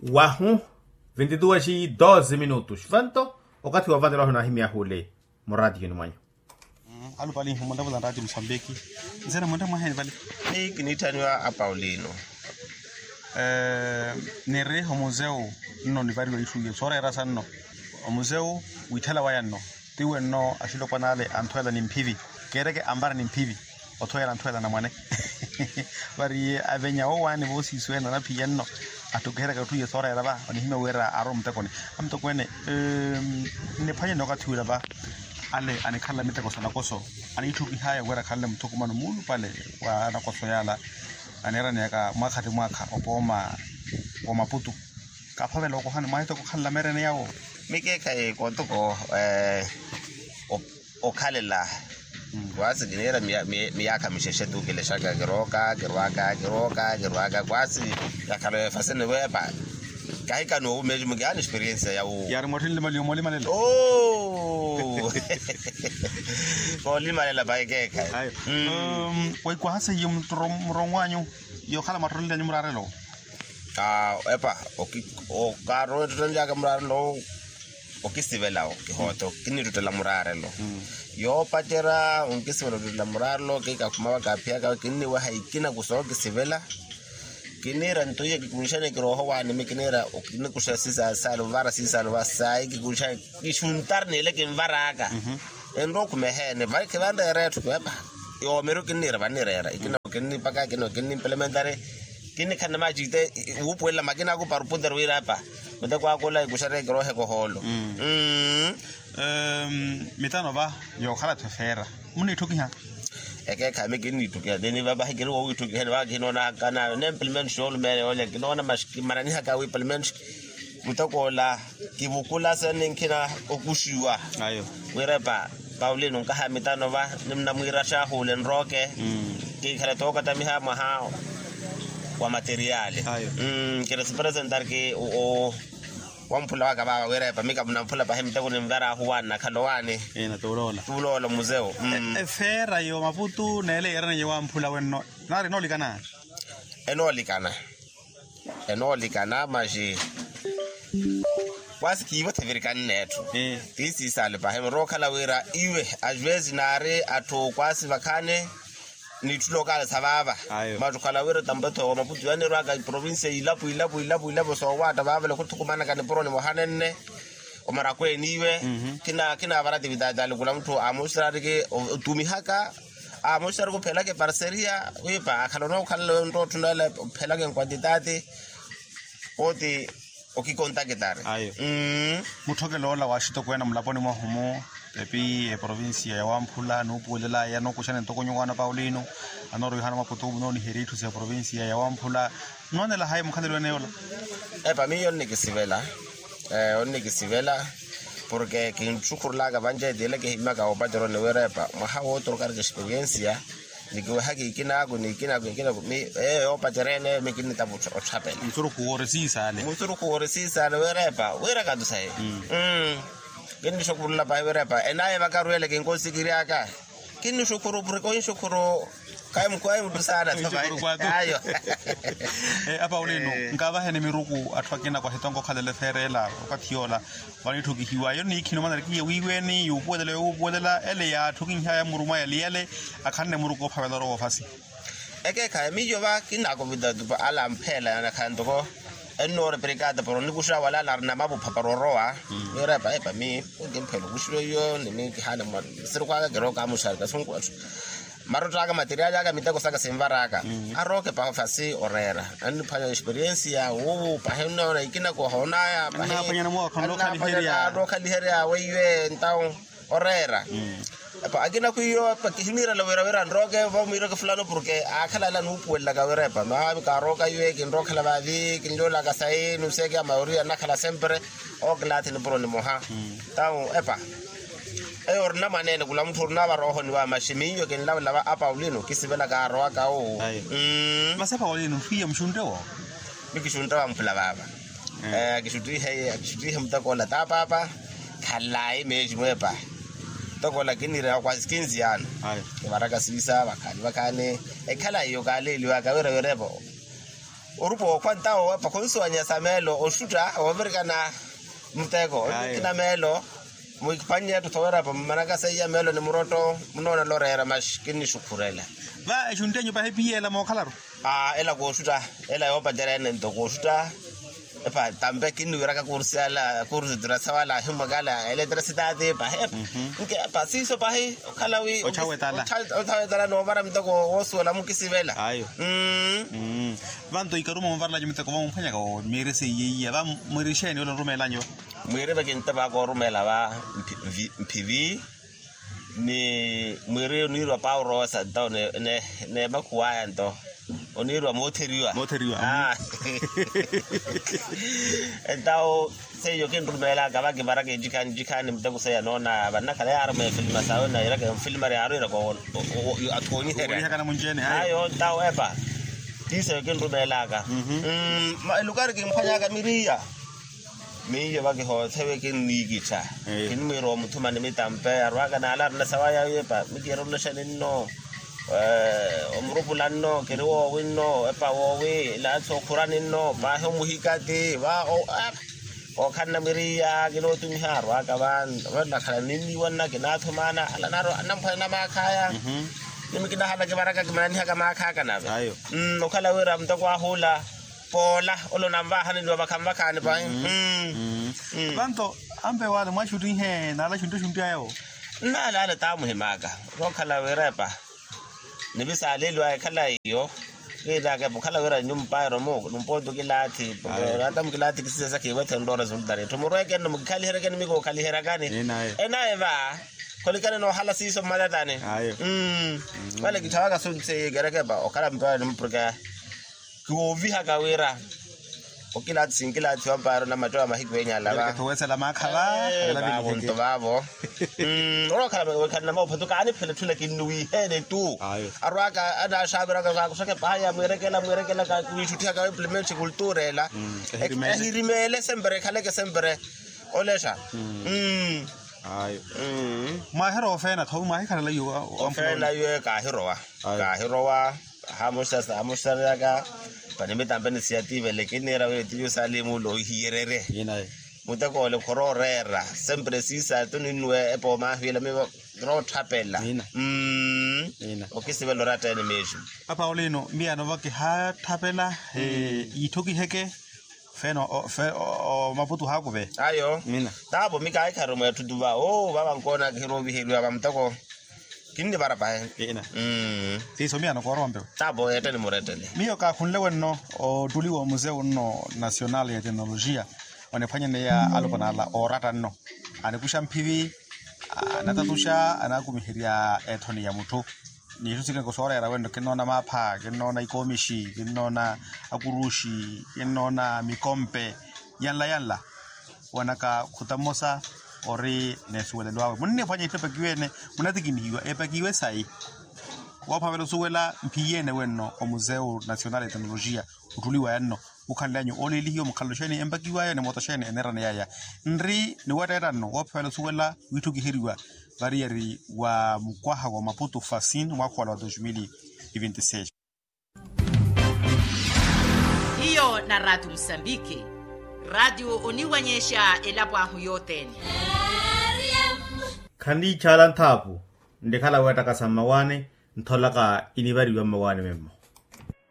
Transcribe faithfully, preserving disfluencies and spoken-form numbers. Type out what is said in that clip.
Wahu. Vinti duas e doze minutos vanto. Okathi wa vatela wahu nahimya hule. Muratiyoni mwanyu. Alupali nhumonta vula nrati musambiki. Nzena mwente mwaheni vale. Ni kinittaniwa a paulino. Niri omuzeu nno nivariwa itthu iyo sooreera sanno. Omuzeu wiitthala waya nno. Tiwe nno axilopwana ale anthweela nimphivi. Keereke anvara nimphivi. Othweela anthweela anamwane. Vari iye avenya wowaani voosiisweene anaphiya nno. Attukiheryaka etthu iyo sooreera va onihimya wira arowa muttekoni. Amutokweene. Nniphwanyeni okathi wira va ale anikhalela miteko sa nakoso. Aniitthukihaya wira akhalele muthukumano muulupale wa nakoso yaala. Aneeraneyaka mwaakha ti mwaakha opooma wa maputu. Kaphavela okohani mwaahitoko okhalela meerene yawo. Mikeekhayi kotoko okhalela. Kwasi kiniira miyaakha mixexe tu kilexaka kirooka kirwaka kirooka kirwaka kwasi. Yakhalo efasini weepa. Kahikani owumeji mukihaani experiensia ya wu. Yaari mwatthenle maliyo moolimalela. Koolimalela pahi keekhayi. Weikwahase iyo muronwanyu. Yookhala mwatthottelilanyu muraarelo. Epa okarowa ettottonlyaka muraarelo. Okisivela okihoota kinittuttela muraarelo. Yoopacerya onkisivela ottuttela muraarelo kikakhuma vakaphiyaka kinniweha ikina kusookisivela. Kiniira nto iya kikunxane kirooho waanimi kiniira okinikuxa sisaali ovara sisaali ovara sayi kikunxane. Kixuntari n'ile kinvar'aka. Enrowa okhumeheene vai khivanreera etthu kiwepa. Yoomeryo kinniira vanireera ikina okinnipaka ikina okinnimpelementari. Kinnikhanna maacite wuupuwelela makina aku para opuntere wira epa. Muteko akula ikuxarya kirohe kohoolo. Mitano va yookhala-tho efeera. Muniitthukiha. Ekeekhayi mi kinniitthukiha tini vavahi kiri wowiitthukiheni vaka kinoonahaka nayo ne mpilimentu xoolumeene yoolya kinoona maxi kimananihaka wi pilimentu. Muteko ola kivukula sene nkhina okuxiwa. Wira epa paulino nkaha mitano va. Nimunamwiira axaahuule nrooke. Kiikhale tookatamiha mwaha wa materiali. Kiri sipresentarki wamphula waka vaava wira epa mi kamunamphula pahi miteko ninvar'ahu waani nakhala owaani. Tuuloola muzeu. Efeera yo maputu neele yeeraneiye wamphula wenno. Naari enoolikana. Enoolikana. Enoolikana maxi. Kwasi kiivo thivirikani n'etthu. Ti siisaale pahi murowa okhala wira iwe. Ajuwezi naari atthu kwasi vakhaani. N'itthu lokaale sa vaava. Matthu okhala wira tampetho wa maputu yanirwaka iprovincia ilapo ilapo ilapo ilapo soowaatta vaavale khuthukumanaka nipuro nimoha nenne. Omarakweeni iwe. Kinaavara atividade alikula mutthu amuxirariki otumihaka. Amuxirariki ophelaka eparseria wiipa akhala onookhalela onrottho nale ophelaka enkwantitaati. Oti okikontakitari. Mutthokelo ola wa axitokweene mulaponi mwahu-mu. Epi eprovincia ya wamphula nuupuwelelaya nookuxana ntoko nyuwaana paulino. Anooroihana maputu munooniherya itthu sa eprovincia ya wamphula. Nnoonela hayi mukhalelo ene yoola. Epa miyo nnikisivela. Onnikisivela. Porke kintxukhurelaka vanci etile kihimmaka woopaceroni wira epa mwaha wootorokari experiensia. Nikiwehaka ikinaaku n'ikinaaku ikinaaku mi eyo yoopacerya ene mi kinnitava otthapela. Musurukhu woori siisaale. Musurukhu woori siisaale wira epa wira katusayi. Kinnixukhurula pahi wira epa enaaye vakarwele kinkoosikiryaka. Kinnixukhuru porke onxukhuru. Kayi mukwayi muttu saana. Ayo. Apaulino nkaavaheni miruku atthu akina kwahitonko okhalela efeera ela okathi yoola. Vanitthukihiwa yo niikhino manarikiye wiiweeni yuupuwelela yuupuwelela ele yaatthukinhaya murumwa yaliyale. Akhanne muruku ophavela orowa ofasi. Ekeekhayi miyo va kinnaakuvita tupa ala ampheela yanakhala ntoko. Ennoore perikata para onikuxa wala ala arina mavupha para orowa. Wira epa epa mi onkimphela okuxiwa iyo ni mi kihaana mwa sirikhwaka kirooka amuxari kasunku atthu. Marott'aka materiali aka miteko saka sinvar'aka. Arooke pahi ofasi oreera anniphwanya experiensia wuuwu pahi nnoona ikina kohoonaya pahi. Annaphwanya namookha nlookhaliherya weiwe entawu. Oreera epa akina khwiiyo epa kihiniirela wira wira nrooke vamwiireke fulano porke aakhala ala nuupuwelelaka wira epa maami kaarooka iwe kinrookhala vaavi kinlyoolaka sayi nuseeke amayoria nnakhala sempre. Ookilaathi nipuro nimoha. Entawu epa eyo orina mwaneene khula mutthu orina varoohoni va maxi miyo kinlavela va apaulino kisivela kaarowaka owo. Masi apaulino ntthu iya muxuntte wo. Mikixuntte wamphula vaava. Akixuttihe akixuttihe muteko ola tapaapa. Khalayi meexi mweepa. Muteko ola kinniireya kwasi kinziyaano. Kivaraka siisa vakhaani vakhaani. Ekhalayi yo kaaleeliwaka wira wira epa. Orupa okhwa ntawo epa khunsuwanya sa meelo oxutta woovirikana muteko. Kina meelo mwiphwannye etthu thowerapa mmanaka seiya meelo ni murotto munoonela oreera maxi kinnixukhurela. Va exunttenyu pahi piyeela mookhalaru? Ela kooxutta. Ela yoopacerya ene nto kooxutta. Epa tampe kinniwiraka kursiyala kursitira sawala ahimwakala eletrasitaati pahi epa. Nkepa siiso pahi okhala wi othawetala noomara muteko woosuwela mukisivela. Vanto ikaru moovarelacu muteko vamumphwanyaka wo miiri seiye iya va? Mwiiri exeeni ole orumeelanyu va? Mwiiri vakintepa koorumeela va mphivi. Ni mwiiri oniirwa pauro osa ntawo neemakhuwaya nto oniirwa mootheriwa. Mootheriwa. Entawo seiyo kinrumeelaka vakivaraka ecikhani ecikhani muteko seiya noona vannakhala yaaruma efilima sawe nairaka enfilima yaaru iraka athoonyiherya. Ayo ntawo epa tiiseyo kinrumeelaka. Elukari kimphwanyaka miriya miyo vakihoothewe kinniikittha. Kinimwiira omuthuma ni mitampe arwaka naala arina sawa yayo epa mikiira oloxa ninno omurupula nno kiri woowi nno epa woowi laatsi okhura ninno paahi omuhikati va. Ookhanna miriya kinootumiha arwaka va. Nakhala ninniiwanna kinaathumana ala naaro anamphwanya na maakhaya. Nimi kinahala kivaraka kimananihaka maakhaka nave. Okhala wira muteko ahula poola ole onanvaahani ni vavakhanvakhaani pahi. Vanto ampe wale mwaxuttihe naala xuntti xuntti ayo. Nnaalaale taamuhimaka okhala wira epa nivisaaliiliwaya ekhala iyo. Kiiraka epa okhala wira nyumpa eromo numpa otu kilaathi. Nata mukilaathi kisisesa kiiwethenrya oresultari etthu murweeke nno mukikhaliheryeke ni mikuukhaliheryakani. Enaye va kholikani noohala siiso mmatatani. Vale kitthawaka sunthi ikereke epa okhala mutwale ni mupurika kiwoovihaka wira okilaathi sinkilaathiwa mpaari onamattewa mahiku enyala va. Vaavo nto vaavo. Orookhala wekhala namaophathuka aniphela etthula kinnuwiiheene tu. Arwaaka anaaxaaviraka kaakusaka epaha ya mwiirekela mwiirekela kakuwiixutthihaka wa implemente kultura ela. Ehirimeele sempre ekhaleke sempre olexa. Mwahirowa ofeena tho mwahikhalela iwe? Ofeena iwe kaahirowa. Kaahirowa. Hamuxareryaka pani mitampe ni siyativele kinniira wira tiyo saali muula ohihiyererye. Muteko ole khorooreera sempre siisa tu ninnuwe epa omahwiila mivo kirootthapela. Okisivela oratta ene miixu. Apa olino miyano va kihaatthapela. Yiitthokiheke feeno. Maputu haakuve ayo. Taavo mi kaahikhari mweetthu tu va oo vava nkoona kihirooviheriwa va muteko. Kinnivara pahi. Siiso miyano koorowa mpewe. Taavo eetteni murettele. Miyo kaakhunle wenno ottuliwa omuzeu nno nasional ya teknolojiya oniphwanyaneya alupanaala ooratta nno. Anikuxa mphivi, anatatuxa anaakumiherya ethoni ya mutthu. Ni itthu sikeke sooreera wenno kinnoona maapha kinnoona ikoomixi kinnoona akuruxi kinnoona mikompe. Yanla yanla wanaka khuta mmosa ori n'esuwelelo awe munniphwanya itthu epakiwe ene. Munatikinihiwa epakiwe sayi. Woophavela osuwela mphiyeene wenno omuzeu nasional ya teknolojiya otthuliwaya nno. Okhanly'anyu ooleelihiwa mukhalelo xeeni empakiwaya ni mooto xeeni eneeraneyaya? Nri ni wetteetta nno woophavela osuwela wiitthukiheriwa variyari wa mukwaha wa maputu fasin mwakha wala wa dos mil e vinte e seis. Hiyo na raatiyo musambiki. Raatiyo oniwanyexa elapo ahu yothene. Khanniitxaala nthaapu nrikhala weettakasa mmawaani. Ntholaka inivariwa mmawaani memmo.